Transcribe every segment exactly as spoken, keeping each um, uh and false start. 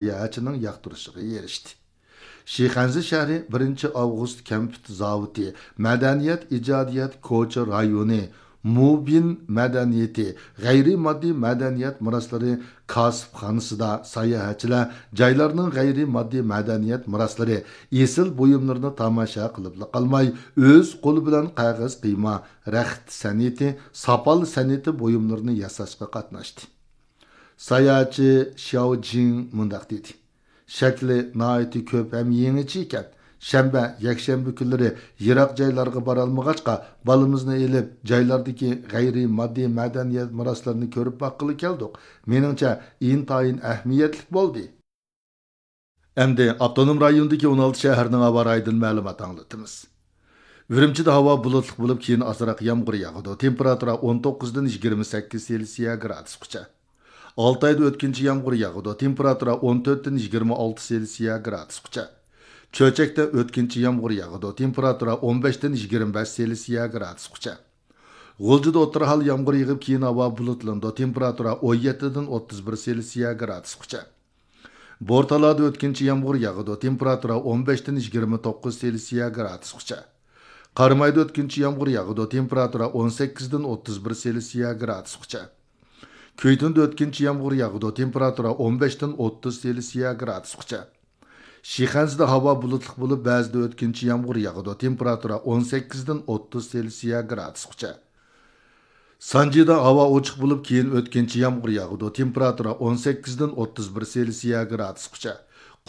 ساياھەتچىنىڭ ياقتۇرۇشىغا ئېرىشتى. شىخەنزە شەھىرى بىرىنچى ئاۋغۇست كەمپۈت زاۋۇتى، مەدەنىيەت ئىجادىيەت كوچا رايونى، مۇبىن مەدەنىيىتى، غەيرىي ماددىي مەدەنىيەت مىراسلىرى كاسىپخانىسىدا ساياھەتچىلەر جايلارنىڭ غەيرىي ماددىي مەدەنىيەت مىراسلىرى، ئېسىل بۇيۇملىرىنى تاماشا قىلىپلا قالماي، ئۆز قولى بىلەن قەغەز قىيما، رەخت سەنئىتى، ساپال سەنئىتى بۇيۇملىرىنى ياساشقا قاتناشتى. ساياھەتچى شياۋ جىڭ مۇنداق دېدى: شەكلى ناھايىتى كۆپ ھەم يېڭىچە ئىكەن. شەنبە، يەكشەنبە كۈنلىرى يىراق جايلارغا بارالمىغاچقا، بالىمىزنى ئېلىپ، جايلاردىكى غەيرىي ماددىي مەدەنىيەت مىراسلىرىنى كۆرۈپ باققىلى كەلدۇق. مېنىڭچە، ئىنتايىن ئەھمىيەتلىك بولدى. ئەمدى ئاپتونوم رايوندىكى ئون ئالتە شەھەرنىڭ ھاۋا رايىدىن مەلۇمات ئاڭلىتىمىز. ئۈرۈمچىدە ھاۋا بۇلۇتلۇق بولۇپ، كېيىن ئازراق يامغۇر ياغىدۇ. تېمپېراتۇرا ئون توققۇزدىن يىگىرمە سەككىز سېلسىيە گرادۇسقىچە. ئالتايدا ئۆتكۈنچى يامغۇر ياغىدۇ. تېمپېراتۇرا ئون تۆتتىن يىگىرمە ئالتە سېلسىيە گرادۇسقىچە. چۆچەكتە ئۆتكۈنچى يامغۇر ياغىدۇ. تېمپېراتۇرا ئون بەشتىن يىگىرمە بەش سېلسىيە گرادۇسقىچە. غۇلجىدا ئوتتۇرا ھال يامغۇر يېغىپ، كېيىن ھاۋا بۇلۇتلىنىدۇ. تېمپېراتۇرا ئون يەتتىدىن ئوتتۇز بىر سېلسىيە گرادۇسقىچە. بورتالادا ئۆتكۈنچى يامغۇر ياغىدۇ. تېمپېراتۇرا ئون بەشتىن يىگىرمە توققۇز سېلسىيە گرادۇسقىچە. قارامايدا ئۆتكۈنچى يامغۇر ياغىدۇ. تېمپېراتۇرا ئون سەككىزدىن ئوتتۇز بىر سېلسىيە گرادۇسقىچە. كۈيتۇندا ئۆتكۈنچى يامغۇر ياغىدۇ. تېمپېراتۇرا ئون بەشتىن ئوتتۇز سېلسىيە گرادۇسقىچە. شىخەنزىدە ھاۋا بۇلۇتلۇق بولۇپ، بەزىدە ئۆتكۈنچى يامغۇر ياغىدۇ. تېمپېراتۇرا ئون سەككىزدىن ئوتتۇز سېلسىيە گرادۇسقىچە. سانجىدا ھاۋا ئوچۇق بولۇپ، كېيىن ئۆتكۈنچى يامغۇر ياغىدۇ. تېمپېراتۇرا ئون سەككىزدىن ئوتتۇز بىر سېلسىيە گرادۇسقىچە.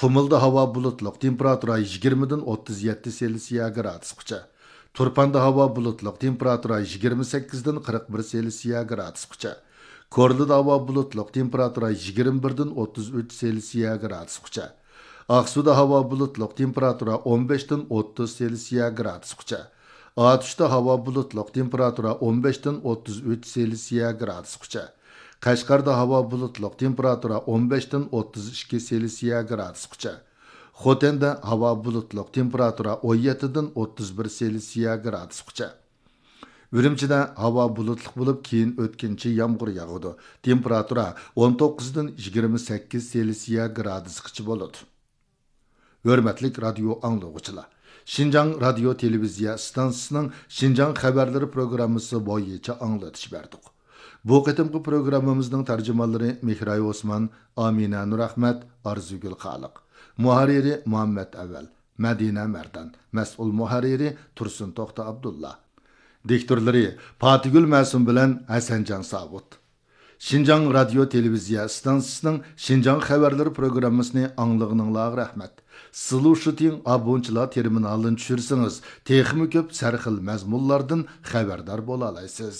قۇمۇلدا ھاۋا بۇلۇتلۇق. تېمپېراتۇرا يىگىرمىدىن ئوتتۇز يەتتە سېلسىيە گرادۇسقىچە. تۇرپاندا ھاۋا بۇلۇتلۇق. تېمپېراتۇرا يىگىرمە سەككىزدىن قىرىق بىر سېلسىيە گرادۇسقىچە. كورلىدا ھاۋا بۇلۇتلۇق. تېمپېراتۇرا يىگىرمە بىردىن ئوتتۇز ئۈچ سېلسىيە گرادۇسقىچە. ئاقسۇدا ھاۋا بۇلۇتلۇق. تېمپېراتۇرا ئون بەشتىن ئوتتۇز سېلسىيە گرادۇسقىچە. ئاتۇشتا ھاۋا بۇلۇتلۇق، تېمپېراتۇرا ئون بەشتىن ئوتتۇز ئۈچ سېلسىيە گرادۇسقىچە. قەشقەردە ھاۋا بۇلۇتلۇق، تېمپېراتۇرا ئون بەشتىن ئوتتۇز ئىككى سېلسىيە گرادۇسقىچە. خوتەندە ھاۋا بۇلۇتلۇق، تېمپېراتۇرا ئون يەتتىدىن ئوتتۇز بىر سېلسىيە گرادۇسقىچە. ئۈرۈمچىدە ھاۋا بۇلۇتلۇق بولۇپ، كېيىن ئۆتكۈنچى يامغۇر ياغىدۇ. تېمپېراتۇرا ئون توققۇزدىن يىگىرمە سەككىز سېلسىيە گرادۇسقىچە بولىدۇ. ھۆرمەتلىك رادىيو ئاڭلىغۇچىلار! شىنجاڭ رادىيو تېلېۋىزىيە ئىستانسىسىنىڭ شىنجاڭ خەۋەرلىرى پروگراممىسى بويىچە ئاڭلىتىش بەردۇق. بۇ قېتىمقى پروگراممىمىزنىڭ تەرجىمانلىرى مېھراي ئوسمان، ئامىنە نۇرئەخمەت، ئارزۇگۈل خالىق. مۇھەررىرى مۇھەممەت ئەۋەل، مەدىنە مەردان. مەسئۇل مۇھەررىرى تۇرسۇن توختى ئابدۇللا. دىكتورلىرى پاتىگۈل مەسۇم بىلەن ھەسەنجان ساۋۇت. شىنجاڭ رادىيو تېلېۋىزىيە ئىستانسىسىنىڭ شىنجاڭ خەۋەرلىرى پروگراممىسىنى ئاڭلىغىنىڭلارغا رەھمەت. سلۇشىتىڭ ئابونچىلار تېرمىنالىنى چۈشۈرسىڭىز، تېخىمۇ كۆپ سەرخىل مەزمۇنلاردىن خەۋەردار بولالايسىز.